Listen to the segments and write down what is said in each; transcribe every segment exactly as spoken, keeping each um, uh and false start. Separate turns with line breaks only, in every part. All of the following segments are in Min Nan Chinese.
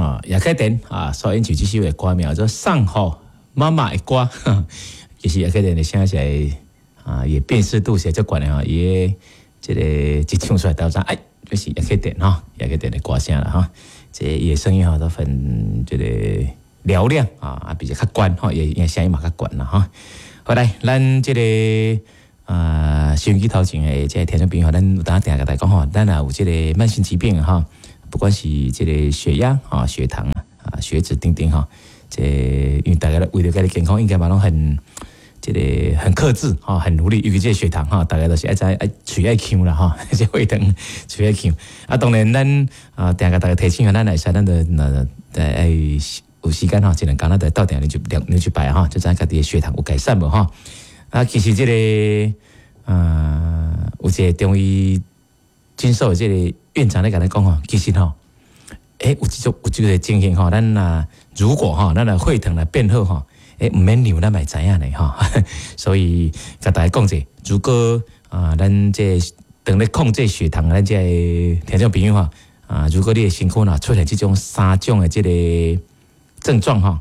啊，葉啟田啊，所演唱這首的歌名叫做《送予媽媽的歌》，其實葉啟田的聲是啊，伊辨識度是足懸的吼，伊的這个一唱出來就知，哎，這是葉啟田吼，葉啟田的歌聲啦吼，這伊的聲音吼都很這个嘹亮啊，比較較懸吼，伊伊聲音嘛較懸啦吼。好來，咱這个啊，收音機頭前的這个聽眾朋友，咱有當定共大家講吼，咱若有這个慢性疾病吼，不管是這个血壓啊、血糖啊、血脂等等吼，這因為大家為著家己健康，應該嘛攏很這个很克制吼，很努力，尤其這个血糖吼，大家都是愛知愛喙愛嗆啦吼，這血糖喙愛嗆。啊，當然咱啊，定共大家提醒啊，咱會使咱就那愛有時間吼，一兩工咱就鬥定量一量量一擺吼，就知影家己的血糖有改善無吼。啊，其實這个啊，有一个中醫診所的這个院長咧共咱講吼，其實吼，欸，有這種有這个情形吼，咱若如果吼，咱若血糖若變好吼，欸，毋免量咱嘛會知影呢吼。所以共大家講者，如果啊，咱這當咧控制血糖，咱這个聽眾朋友吼，啊，如果你的身軀若出現這種三種的這个症狀吼，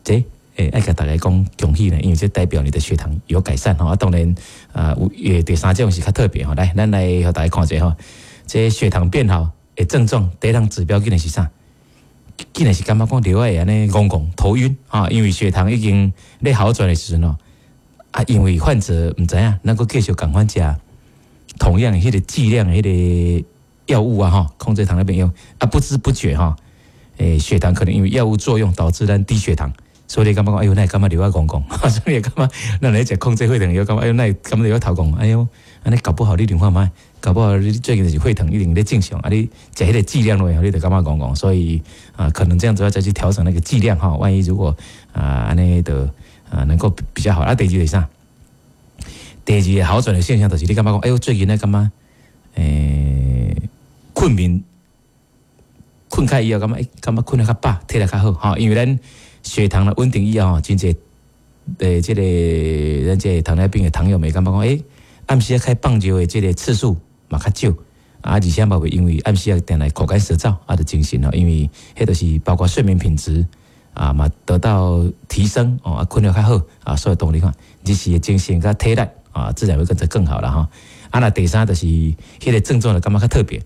這欸，愛共大家講恭喜呢，因為這代表你的血糖有改善吼。啊，當然啊，有第三種是較特別吼。來，咱來予大家看一下吼，這血糖變好的症狀，第一項指標竟然是啥？竟然是感覺講著愛按呢戇戇頭暈啊，因為血糖已經咧好轉的時陣吼，啊，因為患者毋知影，咱閣繼續仝款食同樣的彼个劑量的彼个藥物啊，吼，控制糖尿病藥啊，不知不覺吼，欸，血糖可能因為藥物作用導致咱低血糖。所以你感覺講，哎喲，哪會感覺著愛戇戇？所以感覺咱咧食控制血糖藥，感覺哎喲，哪會感覺著愛頭戇？哎喲，按呢搞不好你量看覓，搞不好你最近就是血糖一定咧正常，啊，你食彼个劑量落，你就感覺戇戇。所以啊，可能這樣子要再去調整那個劑量哈。萬一如果啊，按呢就啊能夠比較好。啊，第二就是啥？第二个好轉的現象就是你感覺講，哎喲，最近咧感覺欸，睏眠睏開以後，感覺欸，感覺睏得較飽，體力較好吼。因為咱血糖的穩定以後吼，真濟的這個咱這個糖尿病的糖友們感覺講，欸，暗時仔開放尿的這個次數嘛較少，啊，而且嘛會因為暗時仔定來口乾舌燥啊，就精神吼，因為彼就是包括睡眠品質啊嘛得到提升哦，啊，睏得較好啊，所以當你看，日時的精神佮體力啊，自然會跟著更好啦吼。啊，若第三就是彼個症狀就感覺較特別，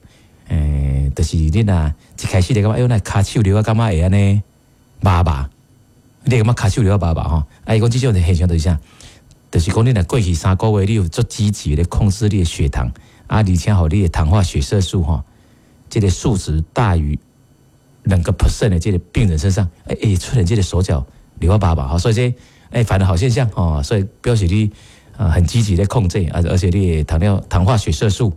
欸，就是你若一開始就感覺哎喲，那跤手著愛感覺會按呢麻麻。你會感覺跤手著愛麻麻吼？啊，伊講這種現象就是啥？就是講你若過去三個月，你有足積極咧控制你的血糖，啊，而且予你的糖化血色素吼，這个數值大於兩個 percent 的這個病人身上，欸欸，出現這个手腳著愛麻麻吼，所以這欸反而好現象吼，所以表示你啊很積極咧控制，而而且你的糖尿糖化血色素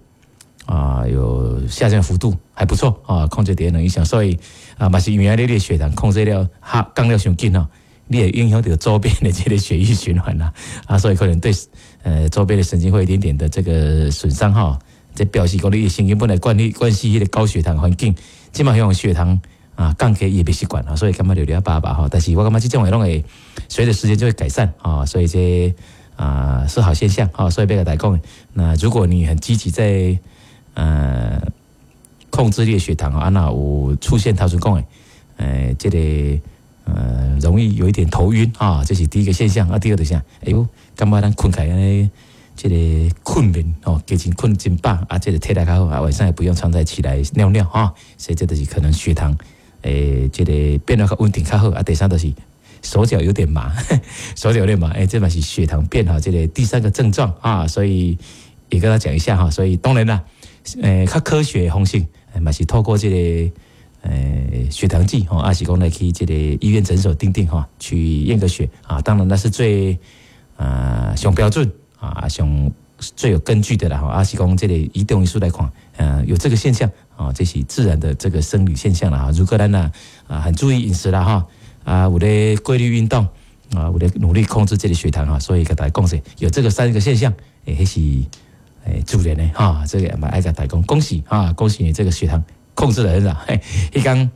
啊有下降幅度還不錯啊，控制佇兩以上，所以啊嘛是因為你的血糖控制了哈降了傷緊吼，你會影響到周邊的這個血液循環啦，啊，所以可能對呃周邊的神經會有一點點的這個損傷哈。這表示講你的神經本來慣關係彼个高血糖環境，這馬用血糖啊降低伊會袂習慣啊，所以感覺著著麻麻吼。但是我感覺這種的攏會隨著時間就會改善啊，所以這啊是好現象啊，所以欲共大家講，那如果你很積極在呃控制你的血糖啊，若有出現頭先講的，呃，這個呃容易有一點頭暈啊，這是第一個現象啊。第二個就是啥？哎喲，感覺咱睏起來按呢這个睏眠哦，加真睏真飽啊，這个體力較好啊，晚上也不用常在起來尿尿哈，所以這就是可能血糖欸，這个變得較穩定較好啊。第三就是手腳有點麻，手腳有點麻，欸，這嘛是血糖變好這个第三個症狀啊，所以也跟他講一下哈。所以當然啦，欸，較科學的方式嘛是透過這个欸血糖計吼，抑是講來去這个醫院診所等等吼，去驗個血啊。當然那是最啊上標準啊，上最有根據的啦吼。抑是講這个以中醫師來看，呃，有這個現象啊，這是自然的這個生理現象啦。如果咱啊啊很注意飲食啦哈，啊有咧規律運動啊，有咧努力控制這个血糖哈，所以共大家講者有這個三個現象，欸，彼是欸自然的哈，這个嘛愛共大家講恭喜啊，恭喜你這個血糖控制得很好。嘿，彼工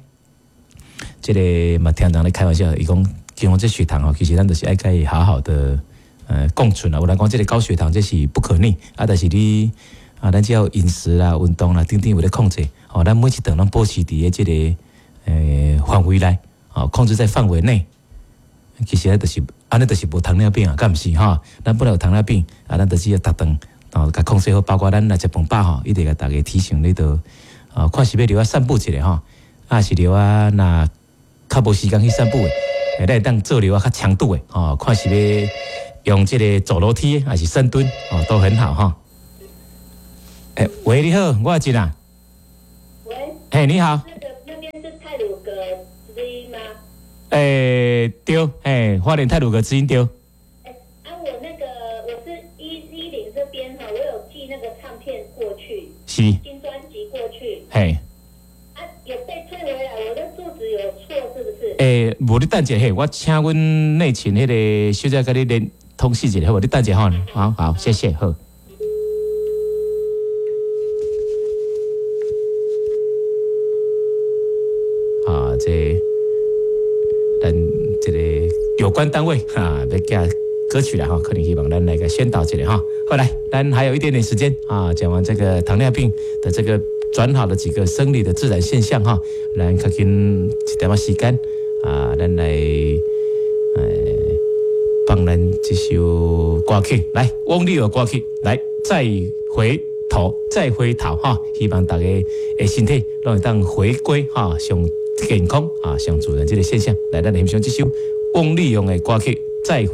這个嘛聽人咧開玩笑，伊講講這血糖哦，其實咱就是愛共伊好好的呃共存啦。有人講這个高血糖這是不可逆啊，但是你啊，咱只要飲食啦、運動啦等等有咧控制，吼，咱每一頓攏保持佇咧這個欸範圍內，吼，控制在範圍內。其實就是按呢，就是無糖尿病啊，敢毋是吼？咱本來有糖尿病，啊，咱就只要逐頓哦，共控制好，包括咱若食飯飽吼，一直共大家提醒你著，啊，看是欲著愛散步一下吼，啊是著愛若較無時間去散步的，咱會當做著較強度的吼，看是欲用這個走樓梯還是深蹲哦，都很好哈。欸，喂，你好，我是啊。
喂。
嘿，你好。
那個那邊是太魯閣之音嗎？
欸，對，嘿，花蓮太魯閣之音對。
欸，啊，我那個我是一一零這邊哈，我有寄那個唱片過去，
是。
新專輯過去。
嘿。
啊，有被退回來，我的住址有錯是不是？
欸，無你等一下，嘿，我請阮內勤彼個小姐共你聯通訊一下，好無？你等一下吼，好好，謝謝，好。啊，這咱這個有關單位哈，欲寄歌曲啦哈，可能希望咱來個宣導一下哈。好來，咱還有一點點時間啊，講完這個糖尿病的這個轉好的幾個生理的自然現象哈，咱較緊一點仔時間啊，咱來呃放咱這首歌曲來，翁立友歌曲來，再回頭，再回頭哈，希望大家的身體攏會當回歸哈，上健康啊，上自然這個現象。來，咱來欣賞這首翁立友的歌曲《再回》。